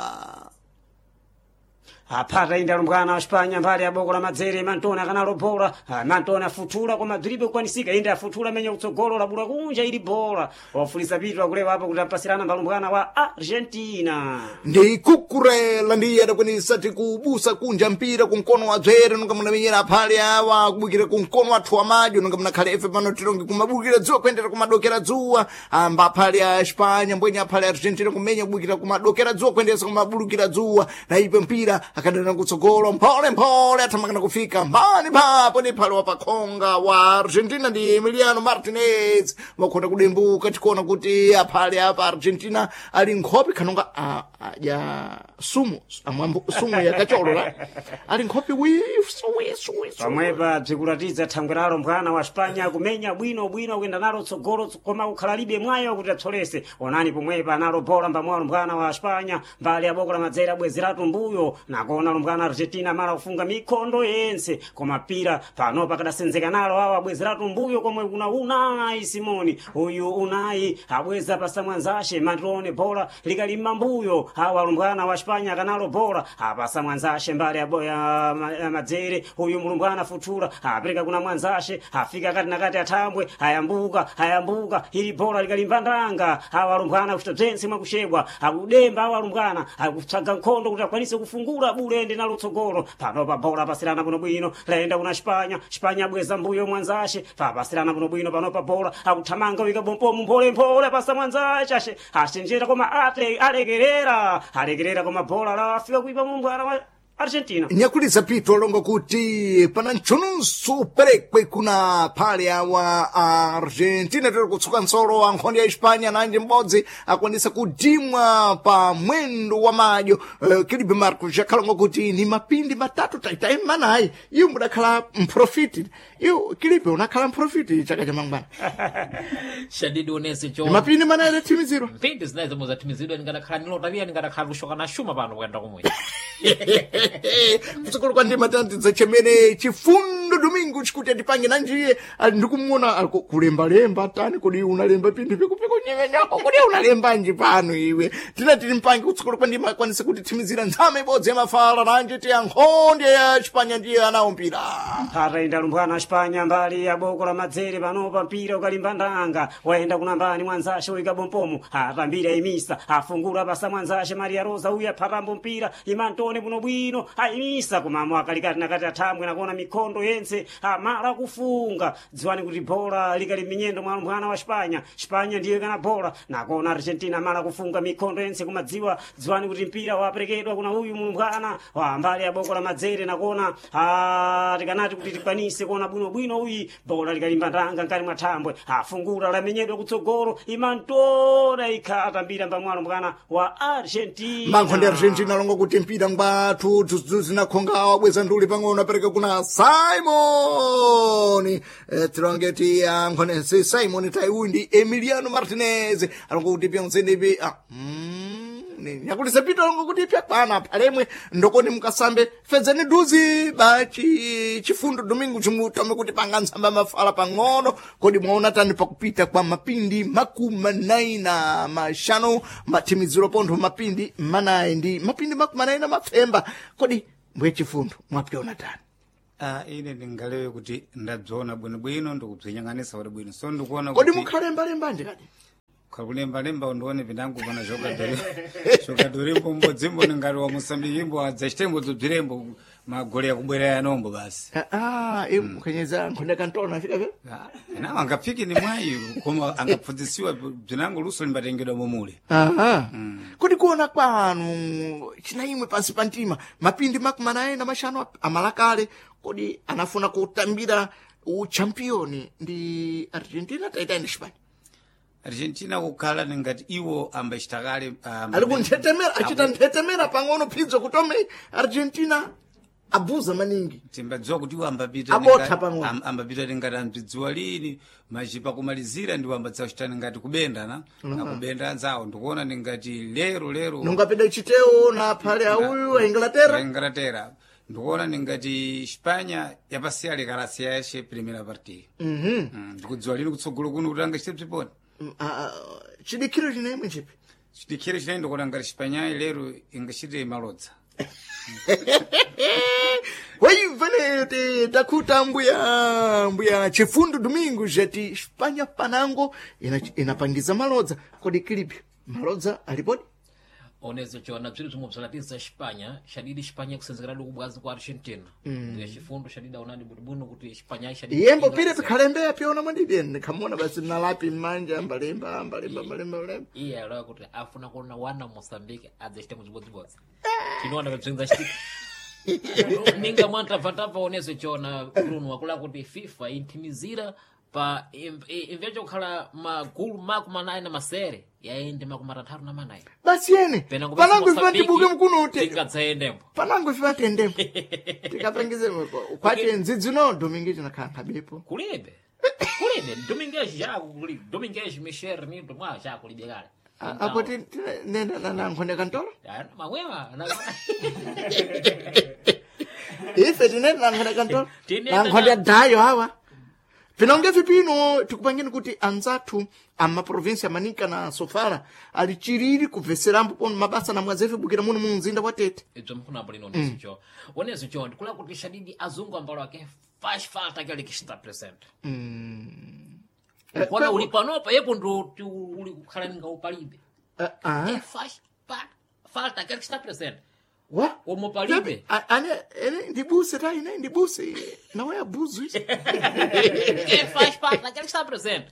Aphata inde alumbwana wa Espanya mbali ya boko la madzere Mantoni akanalo bola. Mantoni afuthula koma bzilibe kukwanisika inde afuthula menya kutsogolo labula kunja ili bola wafulisa pitu akulewa apo kuti apasirana mbalumbwana wa Argentina. Ndi kukurela ndiye adakwanisa tikubusa kunja mpira kumkono wa dzere nonga munamenyera aphale awa kubukira kumkono wathu wa madyo nonga munakhale efe pano tilonge kumabukira dzuwa kuyendera kumadokera dzuwa amba aphale a Espanya mbwenye aphale a Argentina kumenya kubukira kumadokera dzuwa kuyendesa kumabulukira dzuwa na ipe mpira akadana kutsogolo mphole mphole athamakana kufika mbani phapo ni phale wapakhonga wa Argentina ndi Emiliano Martinez wakhona kudimbuka tikuona kuti aphale apa Argentina ali nkhope khanonga adya sumu amwambo sumu yakacholo la ali nkhope wisu wisu wisu. Pamwepa bzikuratidza thangwe lalo mbwana wa Espanya kumenya bwino bwino kuyenda nalo tsogolo koma kukhala libe mwayo kuti apsolese. Onani pomwepa analo bola mbamwalo mbwana wa Espanya mbali ya boko la madzere abwezeratu mbuyo nakona lumbwana Argentina mala kufunga mikhondo yense koma pira pano pakadasenzeka nalo awo abwezeratu mbuyo komwe kuna Unai Simoni uyu Unai abweza pasamwanzashe Mantoni bola likalimma mbuyo awa lumbwana wa Espanya akanalo bola apasa mwanzashe mbali ya ya madzere uyu mulumbwana futhula apereka kuna mwanzashe afika kati na kati athambwe ayambuka ayambuka ili bola likalimba ndanga awa alumbwana kuchita bzense mwakuxebwa akudemba awa alumbwana akutsaga nkhondo kuti akwanise kufungula bulende nalo tsogolo pano pa bola apasirana bwinobwino layenda kuna Espanya Espanya abweza mbuyo mwanzashe papasirana bwinobwino pano pa bola akuthamanga wika bompomu mpholemphole apasa mwanzashe ashe achenjera koma ate alekerera alekerera koma bola lafika kuipa mumbwana wa Argentina. Nyakulisa pito alonga kuti pana ntchununso perekwe kuna phale awa Argentina tiri kutsuka nsolo wa nkhondo ya Espanya nanji m'bodzi akwanisa kudimwa pa mwendo wa madyo. Kilibe Marcos akhalonga kuti ni mapindi matatu taitai manayi iwo mudakhala mprofiti iwo Kilibe unakhala mprofiti chaka cha mangwana. Shadidi onese Ni cho mapindi manayi adathimizirwa mpindi zinayi zomwe zathimizidwa ndingadakhala nilota piya ndingadakhala lushoka na shuma pano kuyenda kumwe. Kutsogolo kwa ndima tantidza chemene chifundo Domingo chikuti atipange nanjiye ali ndikumuona ali kulembalemba tani kodi unalemba pindi pikupiko nyemenyako kodi unalembanji pano iwe tina tili mpange kutsogolo kwa ndima akwanise kutithimizira ntsame ibodzi ya mafala nanji tiya nkhonde ya Espanya ndiye anawo mpira. Ataenda lumbwana Espanya mbali ya boko la madzere panopa mpira ukalimba ndanga wayenda kunambani mwanzashe uika bompomu atambira imisa afungula pasa mwanzashe Maria Rosa uya phatambo mpira imantone buno bwino ayimisa kumamo akalikati nakati athambwe nakuona mikhondo yense amala kufunga dziwani kuti bola likali minyendo mwa lumbwana wa Espanya Espanya ndiyo ikana bola nakuona Argentina amala kufunga mikhondo yense kumadziwa dziwani kuti mpira waperekedwa kuna uyu mulumbwana wa mbali ya boko la madzere nakuona tikanati kuti tikwanise kuona bwinobwino uyi bola likalimba ndanga nkati mwa thambwe afungula lamenyedwa kutsogolo imantora ikhata mbira mbamwalo mbwana wa Argentina. Mankho ndi Argentina alonga kuti mpira ngwathu dzudzu zinakhonga wabweza nduli pang'ono apereka kuna Simon tilonge ti ankhone si Simon taiuyu ndi Emiliano Martinez alonga kuti pyonsenepi nyakulisa pito alonga kuti pyakwana phalemwe ndokoni mukasambe fedzani duzi bachi chifundo Domingo chimutome kuti panga ntsamba mafala pang'ono kodi mwaona tani pakupita kwa mapindi 45 mathimiziro pontho mapindi manayi ndi mapindi 45 mapfemba kodi mbwe chifundo mwapyona tani? Ine ndingalewe kuti ndabziona bwinobwino ndikubzinyang'anisa kuti bwino so ndikuona Kodi kuti mukhalembalemba kadi? Kulembalemba ndione pindangu pana jogadori jogadori mbodzimbo ningati wa Mosambiki adzachitembo dzobzirembo magole akubwera yanombo basi. Iwe mukhenyeza nkhonde kantona afika pe. Nawo angapfike ni mwayi koma angapfundzisiwa bzinango luso limbatengedwa momule. Aha. Kodi kuona kwanu china imwe pansi pa mtima mapindi 45 amalakale kodi anafuna kutambira uchampioni ndi Argentina taita ndi Spain? Argentina kukhala ningati iwo ambachitakale Ali kunthetemera achita nthetemera pang'ono phidzo kutome Argentina. Abuza maningi. Timbadziwa kuti iwo ambapita Abotha pang'ono. Ambapita tingati ambidziwa lini machipa kumalizira ndiwo ambadzachitani ngati kubenda na akubenda anzawo ndikuona ningati lero lero Nungapeda chiteo na phale auyu a Inglaterra. Inglaterra ndikuona ningati Espanya yapasiya likalasiya yashe primera partida. Ndikudziwa lini kutsogolo kuno kuti angachite bziponi. Chidikhiro chinemwe chipi? Chidikhiro chine ndikuona ngati Espanyayi lero ingachite malodza. Waivene te takuta mbuya mbuya chifundo domingo jati Espanha panango inapangiza malodza kodi kilipi malodza alipodi. Onezo chona bziri bzomwe bzalatiza Espanha xadidi Espanha kusenzekera kubwazi kwa Argentina. Ndiye chifundo xadidi aonadi bwinobwino kuti Espanha xadidi Yembo pile pikhalembe apyona mwadidi ndikhamona basi nalapi mmanja ambalemba ambalemba ambalemba ambalemba. Iye alowa kuti afuna kuona wana Moçambique adzachita muzibodzibodzi tinoona pabzinza chitika ninga mwantabvatabva onezo chona Bruno wakula kuti FIFA inthimizira pa imvecho kukhala magulu 48 na masere yaende 34. Basi yene Penango panango ife vantibuke mkuno te tingadzaendembo. Panango ife vatendembo tikapangize kwache ndzidzino domingo chinakhala nkhabepo. Kulibe kulibe Domingues já kulibe Domingues Michel Nito mwa já kulibe kale. Apo nenda nankhonde kantola. Mamwewa. Ife tinenda nankhonde kantola. Tinenda nankhonde dayo awa pinonge vipino tikupangeni kuti anzathu amaprovinsi amanika na sofala ali chiriri kubveserambo pono mabasa namwe azefibukira muno mu mzinda wa Tete. Ibzo mkunapo lino onezo cho onezo cho ndikula kuti shadidi azungu ambalo ake faz falta aquele que está presente. Ukona uli panopa yepo ndo uli kukhala ninga upalibe. Ah, É faz falta aquele que está presente. wa Como palibe. Ane ene ndibuse ta ine ndibuse nawe abuzu izi. Quem faz parte daquele que está presente.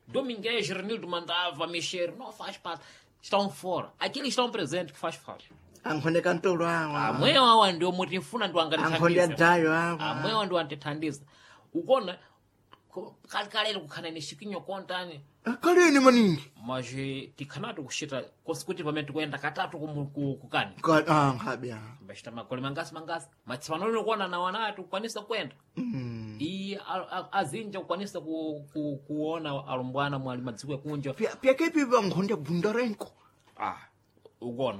Domingues, Renildo mandava mexer, não faz parte. Estão fora. Aqueles que estão presentes que faz falta. Ankhonde kantolo awa. Amwewa awa ndio mutifuna ndio Ankhonde angatithandiza. adayo awa. Amwewa ndio antithandiza. Ukona kalekale kukhana ni chikinyo kontani Kaleni maningi. mas tikhanati kuchita kuti pamene tikuyenda katatu kukani Ah, nkhabe ah. bachita magole mangasi mangasi matsipano kuona na wana ati kukwanisa kuyenda iye azinja kukwanisa kuona alumbwana mwali madziko yakunja. Pyakepi vankhonde bundarenko. Ah, ukuona.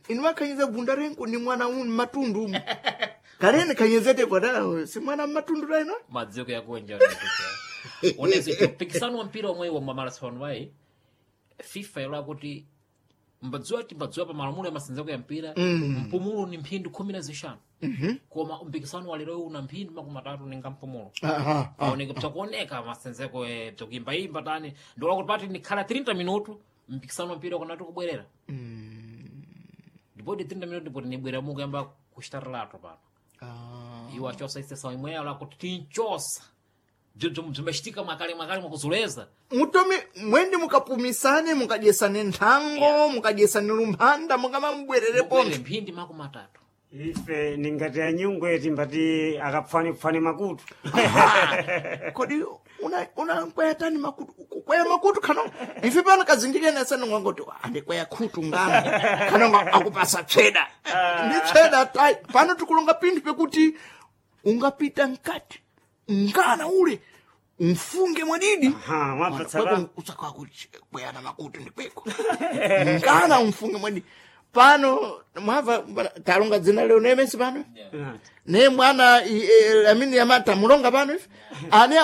Inimakhanyiza bundarenko ni mwana unu matundu umu. Kaleni khanyizete kwada si mwana matundu raino. Madziko yakunja onezi mpikisano wa mpira omwe wa mamarathon wayi FIFA ilo akuti mbadziwa ti mbadziwa pa malamulo ya masenzeko ya mpira mpumulo ni mphindi 15 koma mpikisano wa lero una mphindi 30 ninga mpumulo. Aha. Aoneka bzakuoneka masenzeko bzakuimbaimba tani ndiola kuti pati nikhala 30 minutu mpikisano wa mpira ukanati kubwerera ndipoti 30 minutu ndipoti nibwerera mukuyamba kuchitarirato pano. Iwo achosa isesa imweyo lakuti tinchosa bzibzo bzimbachitika mwakale mwakale mwakuzuleza. Mutomi mwende mukapumisane mukadyesane nthango mukadyesane lumphanda mukamambwerere Mubwerere pontho. mphindi 30. Ife ningati anyungwe timbati akapfane-pfane makutu. Kodi una una tani makutu kukwaya makutu khano ife pano kazindikene sanongwangoti andikwaya khutu ngana khano akupasa tsweda ndi tsweda tai pano tikulonga pinthu pekuti ungapita mkati ngana ule mfunge mwadidi. Aha, mwapatsa pa. Usakwayana makutu ndikweko ngana umfunge mwadidi pano mwava talonga dzina leo nemesi pano ne mwana amene yamata mulonga pano ife ane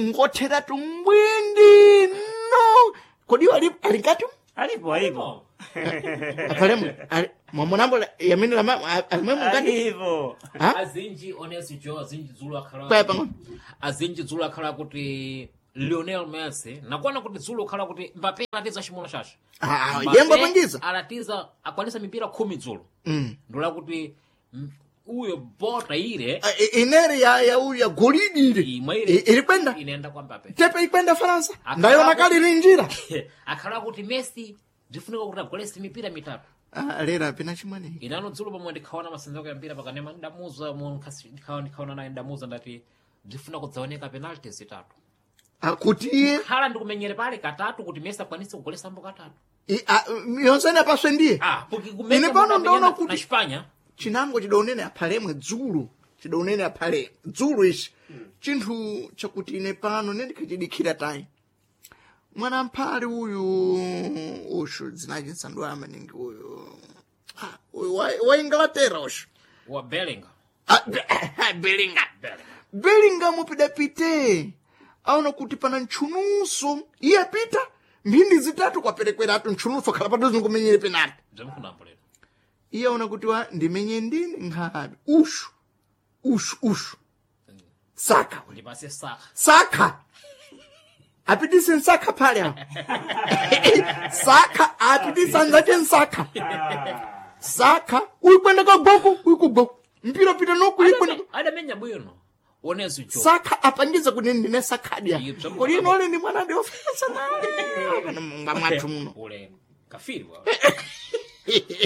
ngothera tumbwindi no kodi ali alikati Alipo alipo. apalemo mwamunambo yamene lama alimwe mungati. Alipo. Ha? Azinji onesi jo azinji dzulo akhala Kwaya pang'ono. Azinji dzulo akhala kuti Lionel Messi nakuona kuti dzulo akhala kuti Mbappe alatiza chimulo chace. Ah, Mbappe yembo apangiza. Alatiza akwanisa mipira 10 dzulo ndola kuti uyo bota ile. Ah, inere ya uyu ya golidi ile. Imwe ile. Iri kwenda inaenda kwa Mbappe. tepe ikwenda Faransa. Akhala ndayona kali ili njira. Akhala kuti Messi ndifunika kuti agolese mipira mitatu. Ah, lera pina chimwene. Inano dzulo pamwe ndikhaona masenzeko ya mpira pakanema ndamuza ndikhaona naye ndamuza ndati ndifuna kudzaoneka penalty zitatu. Ah, kuti iye Khala ndikumenyere pale katatu kuti Messi akwanise kugolesambo katatu. Yonsene apaswe ndiye. Ah, porque kumenya Ine pano munthu ndaona amenya kuti- na Espanha. Chinango chidaonene aphalemwe dzulu, chidaonene aphale dzulu ichi chinthu chakuti ine pano nendikhachidikhira tayi mwana mphali uyu ushu dzinachi nsanduwa maningi uyu. Ah, uyu wa Inglaterra ushu Wa Bellingham. Ah, Bellingham. Bellingham pidapite aona kuti pana ntchunuso iye apita mphindi zitatu kwaperekweratu ntchunuso khala padhuze nkumenyere penalty. Bzomkunambo lero. Iye aona kuti wa ndimenye ndini nkhabe ushu ushu ushu saka we. Ndipase Saka. Saka apitise nsakha phale apo saka apitise anzache nsakha saka uyikwenda kagoko uyikugoko mpira pita noku uyikwenda. Adamenya bwino. Onezo jo. Saka apangiza kuti ndine sakhadya Iye, bzomwe kodi inole ndi mwana ndiofesa naye mumba mwathu muno. Ule kafiri wa.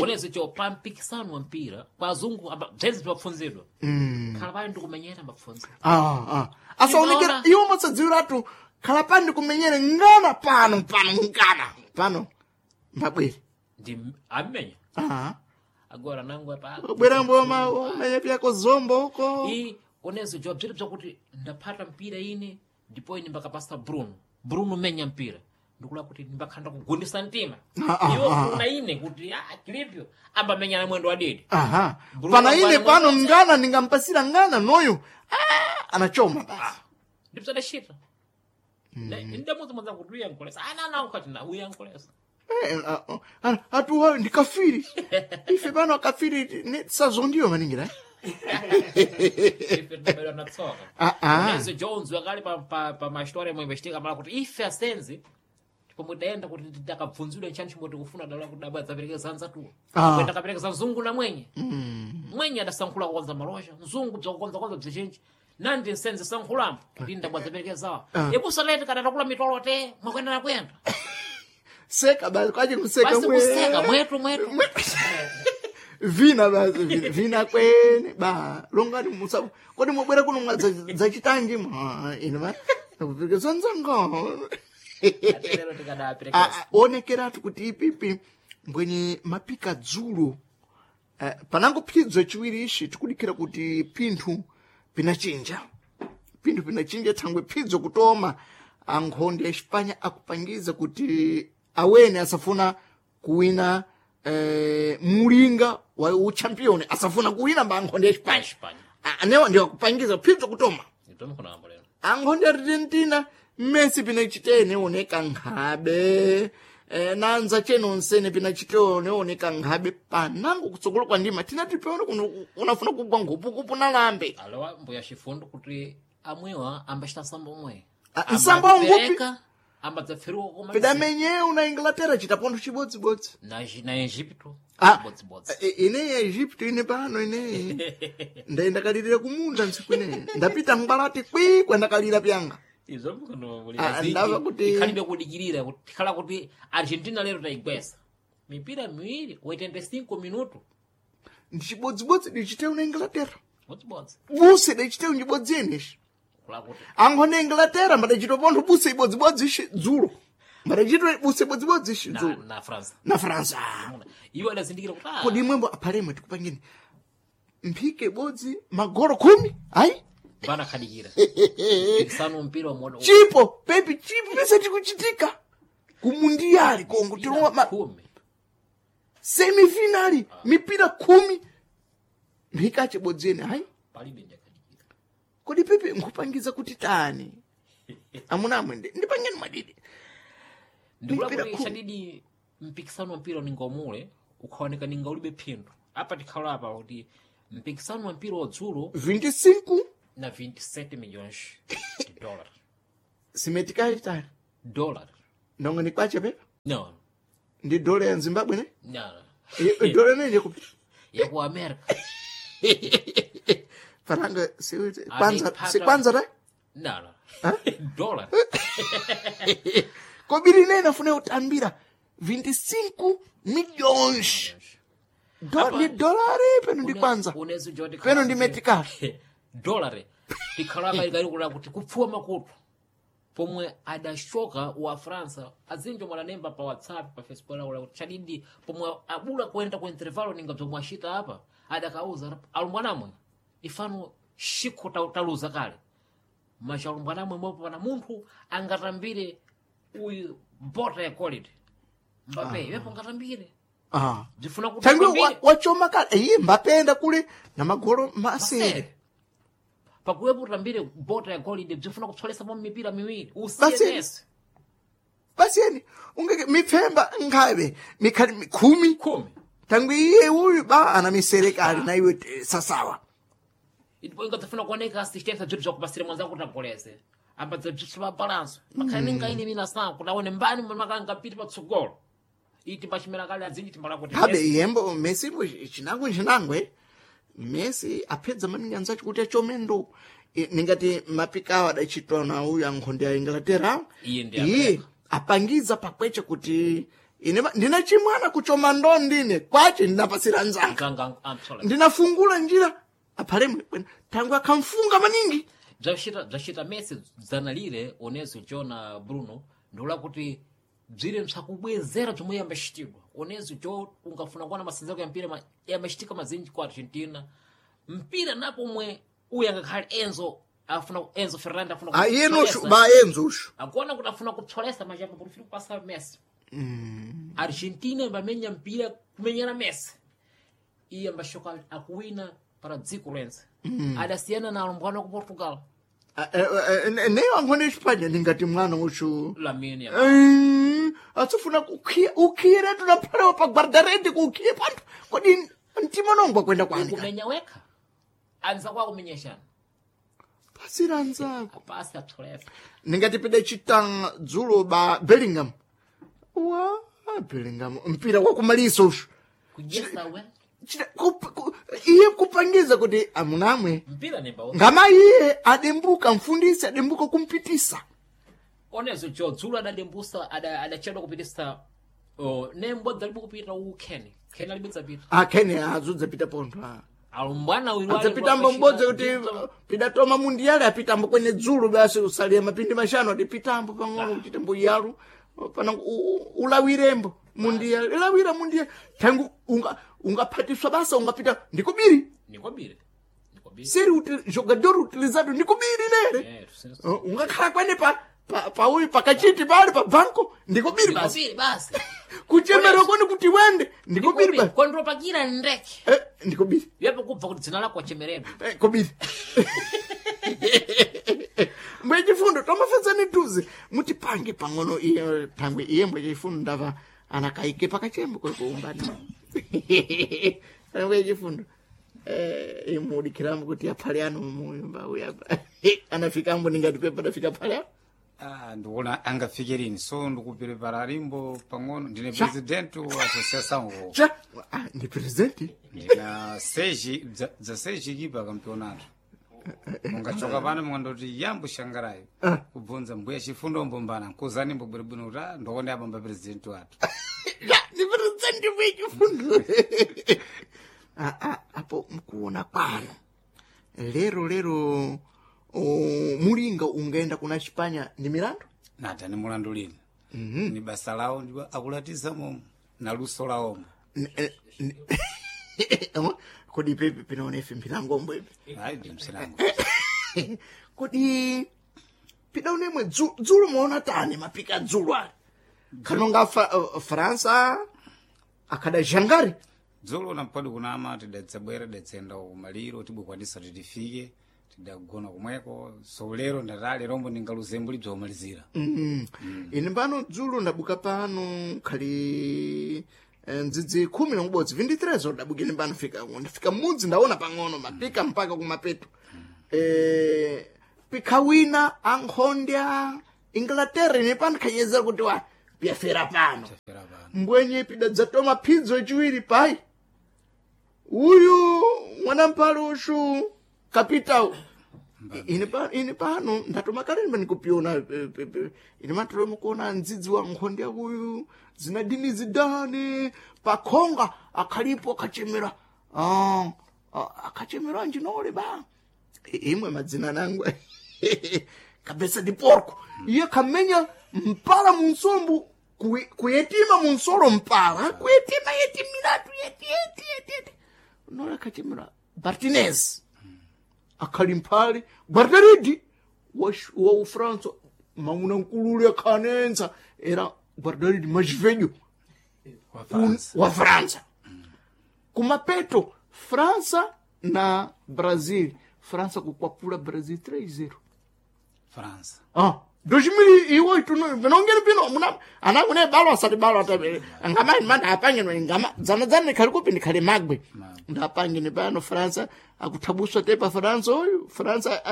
Onezo jo pa mpikisano wa mpira kwa azungu amba bzenzi bzopfunzidwa. Khala pali ndikumenyera mbapfunza. Ah, ah. Asaonekera Ndinaona. iwo masadziwiratu khala pani kumenyere ngana pano pano ngana pano mbabwere. Ndi amenya. Ah. Agora nangu apa. Bwera mboma umenya pyako zombo uko. I onezo jo bziri bzakuti ndaphata mpira ine ndipo ine mbakapasa Bruno. Bruno menya mpira. Ndikula kuti ndimbakhanda kugundisa mtima. Ah, ah, Iwo ah, kuna ine kuti ah kilipyo ambamenya na mwendo wadidi. Aha. Bruno Pana ine Mbwana pano mwenye- ngana ndingampasira ngana noyo. Ah, anachoma basi. Ndipsadashita. Ndamudzi mwadza kuti uyankolesa. Ana ana ukati na uyankolesa. Eh, ah, ah, atuwa ndi kafiri. Ife pano akafiri ne sazondiyo maningira. Ife tinabadwa na tsoka. Ah, ah. Onezo Jones wakali pa pa pa mastori amwe investiga mala kuti ife asenzi pomwe daenda kuti ndakabvunzidwa nchani chimwe tikufuna dala kuti dabwa dzaperekeza anzatuwa. Ah. Kwenda kaperekeza mzungu na mwenye. Mwenye adasankhula kukonza malosha, mzungu bzakukonza konza bzichinji. Nandi nsenzi sankhulambo kuti ndabwa dzaperekezawa. Ibusa leti kana takula mitolo te mwakwenda na kwenda. Seka basi kwaje kuseka Basi kuseka mwetu mwetu. Vina basi vina, vina kwene ba longani musa kodi mwabwera kuno mwa zachitanji mwa ine ma kupikisa nzanga. Atelero tikadaperekeza. Ah, ah, onekeratu kuti ipipi mbwenye mapika dzulo. Eh, panango phidzo chiwiri ishi tikudikira kuti pinthu pinachinja pinthu pinachinja thangwe phidzo kutoma ankhonde ya Xipanya akupangiza kuti awene asafuna kuwina mulinga wa uchampioni asafuna kuwina mba ankhonde ya Xipanya. Xipanya. Ah, anewa ndiwo akupangiza phidzo kutoma. Nditomukhonambo lero. Ankhonde Argentina Messi pinachitene oneka nkhabe nanza cheno nsene pinachitene oneka nkhabe panango kutsogolo kwa ndima tinati peone kuno unafuna kugwa nkhupukupu nalambe. Alowa mbuya chifundo kuti amwewa ambachita nsambo omwe. Ah, nsambo ngupi? Ambadzapferuka koma Pidamenyeu na Inglaterra chitapontho chibodzibodzi. na Egipto Ah, bodzibodzi. Ineyi ya Egipto ine pano ineyi ndaendakalirira kumunda ntsiku ineyi ndapita ngwalati kwi kwendakalira pyanga. Izvo Ah, ndava kuti- ikhalibe kudikirira kuti tikhala kuti Argentina lero tayigwesa mipira miwiri 85 minuto Ndichibodzibodzi dichiteu na Inglaterra bodzibodzi buse dichiteu njibodzi yeneshi. kula kuti Ankhone Inglaterra mbadachitopontho buse ibodzibodzi ishi dzulo mbadachito buse ibodzibodzi ishi na, dzulo na France na Fransa. iwo adazindikira kuti ah, Kodi imwembo aphalemwe tikupangeni mphike ibodzi magolo 10 ayi. bana khadikira pikisano mpira wa Chipo pepi chipo pese chikuchitika kumundiyali kongo tilowa ma khumi semifinali mipira 10 mphike achibodzi ene ayi. palibe ndiyakhadikira. Kodi pepe nkupangiza kuti tani amuna amwe ndipangeni mwadidi. Ndikula Mipira kuti khumi. chadidi mpikisano wa mpira ningomule ukhaoneka ninga ulibe phindu apa tikhala apa kuti mpikisano wa mpira wadzulo 25 na 27 milhões de dólar simetikayi tani dólar ndongo ni kwache pepa no ndi dola ya Zimbabwe ne. no. Dola nenje kupi Ya ku America. Faranga si kwanza si kwanza ta. No. Dólar. Kobiri nene afune utambira 25 milhões ndi dolari peno ndi kwanza Unezo jodi peno ndi metikali dólar tikhala apa ikali kuti kupfuwa makutu pomwe adashoka wa Fransa azinjo mwalanemba pa WhatsApp pa Facebook laula kuti chadidi pomwe abula kuenda ku intervalo ninga bzomwe ashita apa. Adakauza alumbwanamwe ifano shikho taluza kale macha alumbwanamwe mwepo pana munthu angatambire uyu bota ya quality Mbappe iwepo angatambire Ah. bzifuna kuti Tangu atambire. wachoma kale iye Mbappe kule na magolo masere. Masere. Pakuwepo utambire bota ya golide bzifuna kupsolesa mipira miwiri Basi. usiye Messi Basi yani ungeke mipfemba nkhabe mikhali 10 10 tangu iye uyu ba ana misere kale na iwe sasawa. Ipo ingadzafuna kuoneka assistência bzinthu zvakupasira mwanzako kuti agoleze ambadza bzithu pa balanso makhale ninga ine mina sanku kuti aone mbani makangapiti patsogolo iti pachimera kale adzinji timbala kuti Habe yembo Messi mbo chinango chinangwe Messi apedza maningi anzacho kuti achome ndo. Ningati mapikawo adachitwa na uyu ankhonde ya Inglaterra. Iye ndi iye America. apangiza pakweche kuti ine ndina chimwana kuchoma ndo ndine kwache ndinapasira nzanga. mzanga amtsola Ndinafungula njira aphalemwe bwena tangu akamfunga maningi. Bzachita Messi dzanalire onezo jona Bruno ndikula kuti bzire msakubwezera bzomwe yambachitidwa onezo jo ungafuna kuona masinzako ya mpira yambachitika mazinji ku Argentina mpira napo mwe uyu angakhale Enzo afuna Enzo Fernandez afuna Ah, iye noshu kupsolesa. ba Enzo ushu. Akuona kuti afuna kupsolesa machapa kuti ufire kupasa Messi. Argentina imbamenya mpira kumenyera Messi iye ambashoka akuwina para dziko lense. Adasiyana na alumbwana ku Portugal. Ah, neyo ankhonde Espanya ndingati mwana ushu. Lamine Atsifuna kukhiya ukhiyeretu naphalewa pa guardarete kukhiye panthu kodi mtima nongwa kwenda kwani ka? kumenya wekha anza kwa kumenyeshana Pasira anzako pasi apsolesa ndingati pida chita dzulo ba Bellingham wa Bellingham mpira wakumalisa ushu kujesa we iye kupangiza kuti amunamwe mpira nemba ngama iye adembuka mfundisi adembuka kumpitisa onezo jo dzulo adadembusa adachedwa kupitisa nembo dzalibe kupita u Ken Ken alibe dzapita akhene azudzapita pontho ah. alumbwana uyu adzapita mbodzi kuti pidatoma mundiyale apitambo kwene dzulo basi usalia mapindi mashanu atipitambo pang'ono kuti tembo yalu pana ulawirembo mundiyale ilawira mundiyale tangu ungaphatiswa basa ungapita ndikubiri nikobire nikobire seri jogador utilizado ndikubiri nere eh ungakhala kwene pa pauyu pakachiti pale pa banko ndikubiri basi nikobire basi kuchemera kwene kuti wende ndikubiri basi kondropakira ndeke ndikubiri yepo kubva kuti dzina lako achemeredwa kobiri mbwe chifundo tomafedzani tuze mutipange pang'ono iye thangwe iye mbwe chifundo ndava anakaike pakachembo kwekuumbani mbwe chifundo imudikirambo kuti aphale ano muyumba uyapa anafikambo ningati pepa adafika phale ano Ah, ndikuona angafikirini so ndikupiripara limbo pang'ono ndine president wa associação cha ndi presidenti ndina seji dza seji kipa campeonato mungachoka pano mungandoti yambo shangarayo kubvunza mbuya chifundo mbombana nkuzani mbobweribwino kuti ah, ndikuona apa mba president wathu ya ndi presidenti mbwe chifundo apo mkuona kwanu lero lero mulinga ungaenda kuna Chipanya ndi milandu nata ni mulandu lini ni basa lawo ndipo akulatiza momo na luso lawomo Kodi pepe pinaona ife mpilangombo ipi ayi ndi msilango kodi pidaonemwe dzulo muona tani mapika dzulo ali kanonga Fransa akhada jangari dzulo nampadi kunama tidadzabwera tidadzenda kumaliro tibukwanisa titifike tidagona kumweko so lero ndatali rombo ndingaluzembo libzomalizira Ine pano dzulo ndabuka pano khali ndzidzi 11 23 ndabuka ine pano fika ndafika mudzi ndaona pang'ono mapika mpaka kumapeto pika wina ankhonde a Inglaterra ine pano khanyezera kuti wa piyafera pano Fera pano mbwenye pidadzatoma phidzo yachiwiri pai uyu mwanampalo ushu kapitao ine pano ndatoma kale ndimene kupiona ine matoloma kuona ndzidzi wa nkhonde uyu zinadini zidane pakhonga akhalipo akhachemera akhachemera anjinole ba imwe madzina nangu kabesa di porco iye khamenya mpala munsombo kuyetima munsolo mpala kuyetima yeti milatu yeti yeti yeti yeti. Nola akachemera Martinez akhali mphale guardaridi wa Ufransa mauna nkulule akhanenza era guardaridi majivenyo Wa Fransa. wa Fransa kumapeto Fransa na Brazil, Fransa kukwapula Brazil 3-0. Fransa. Ah, 2008 nongeni pino muna anakune balo asati balo atabe ngama manda apange no ngama zana zana khali kupi ndikhale magwe ndapangene pano Fransa akuthabuswa tepa Fransa oyu Fransa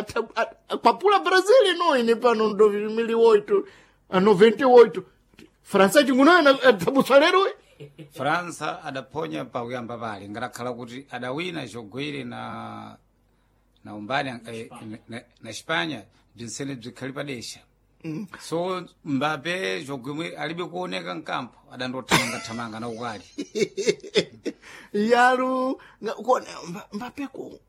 akwapula Brazil no ine pano 2008 a 98 Fransa chinguno athabuswa lero uyu. Fransa adaponya pakuyamba pale ngatakhala kuti adawina chogwere na na umbani na Espanya bzinsene bzikhali padesha so Mbappe chogwemwe alibe kuoneka mkampo adandothamanga thamanga na ukali yalu kuona Mbappe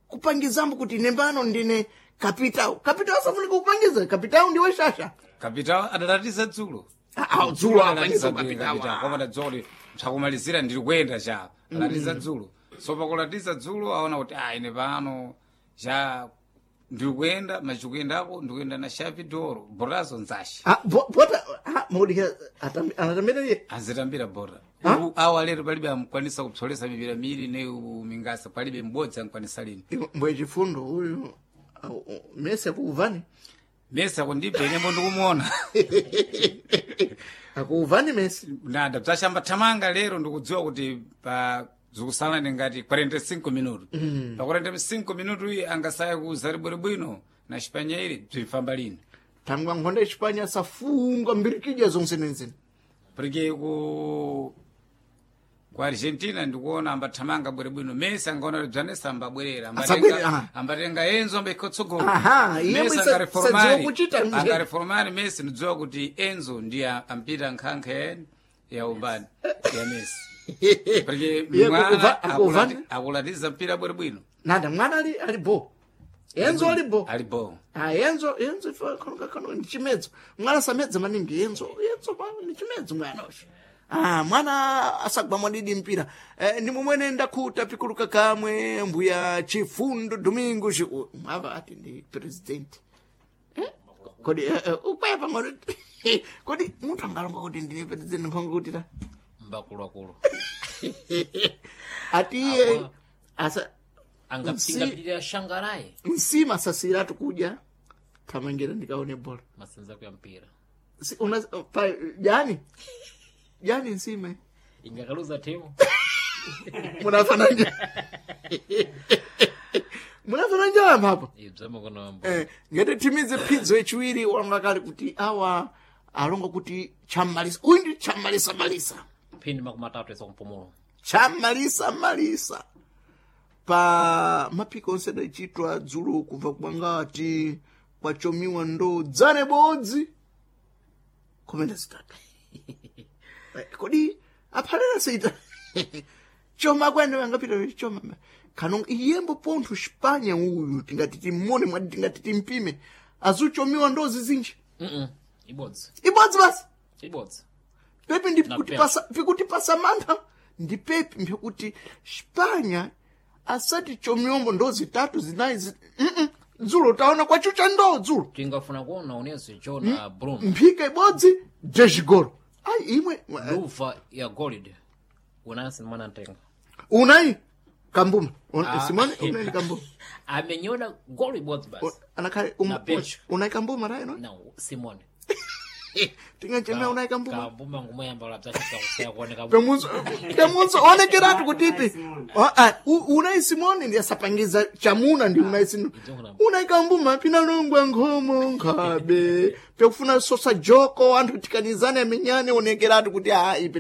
kupangizambo kuti ine pano ndine kapitao kapitao asafunika kupangiza kapitao ndiwe shasha kapitao adalatiza dzulo. Ah, ah, dzulo apangiza Adalatiza dzulo kapitao. kapitao koma adadzuwa kuti msakumalizira ndiri kuyenda cha alatiza dzulo so pakulatiza dzulo aona kuti ah ine pano cha ndiri kuyenda machikuyendako ndikuyenda na Xavi Doro borazo nzasha Ah, bota ah, maudikira anatambira iye azitambira bora awa lero palibe amkwanisa kupsolesa mipira miri ne mingasa palibe m'bodzi amkwanisa lini. Mbwe chifundo uyu Messi akuuvani Messi akundipa inembo ndikumuona. Akuuvani Messi. Nada bzashamba thamanga lero ndikudziwa kuti pa zikusalani ngati 45 minutu pa 45 minutu iyi angasaya kuza bwino na Espanya ili bzifamba lini. Thangwa nkhonda Espanya safunga mbirikidya zonse nenzene. Porque ku Argentina ndikuona ambathamanga bwinobwino Messi angaona kuti bzanesa ambabwerera Asabwere, aha. ambatenga Enzo ambaikhotsogolo. Aha, iye Messi sadziwa kuchita nje. angareformari Messi ndidziwa kuti Enzo ndiye ampita nkhankha ya umbani ya Messi porque Iye mwana akuuvani? akulatiza mpira bwinobwino. Nada mwana ali bo Enzo ali bo. Ali bo. Ah, Enzo Enzo ife kano kano ndi chimedzo mwana samedza maningi Enzo Enzo ndi chimedzo mwana uyu. Ah, mwana asagwa mwadidi mpira ndi mumwene ndakhuta pikuluka kamwe mbuya Chifundo Domingo mwava ati ndi president kodi ukwaya pang'ono kodi munthu angalonga kuti ndine president nkhonga kuti ta Mbakuluakulu. Ati iye asa Angapinga shangarayi. Nsima sasiratu kudya thamangira ndikaone bola. Masenza ya mpira. Una, pa, jani jani nsima Ingakaluza timu. munafananja munafananja apapo. Ibzama kono mbo. Ngati timize phidzo yachiwiri walonga kale kuti awa alonga kuti chamalisa uyu ndi chamalisa malisa. Phindi 30 isa kumpumulo. Chamalisa malisa pa mapiko onse adachitwa dzulo kubva kwangati kwachomiwa ndo dzane bodzi komenda zitatu. Kodi aphalera sita choma kwene angapita choma kano iyembo pontho Spanya uyu tingati timmone mwati tingati timpime azuchomiwa ndo zizinji. Ibodzi. Ibodzi basi. Ibodzi. Pepi ndi Na pikutipasa mantha ndi pepi mpekuti Spanya asati chomiombo ndo zitatu zinayi dzulo taona kwachucha ndo dzulo. Tingafuna kuona unezo Jona Bruno. Mphika ibodzi dezigolo ayi imwe. Luva ya gold. Unansi mwana ntenga. Unai kambuma Simone unai ndi kambuma. Amenyona goli ibodzi basi. Anakhale Na bench. unai kambuma rayi no. No, Simone. Tingachemea unai kambuma. Kambuma ngumoyamba labzachita kusaya kuoneka. Pemunzo pemunzo onekeratu kutipi unai Simone ndi asapangiza chamuna ndi unai Simone unai kambuma pinalungwa nkhomo nkhabe pekufuna sosa joko anthu tikanizane amenyane onekeratu kuti a ipi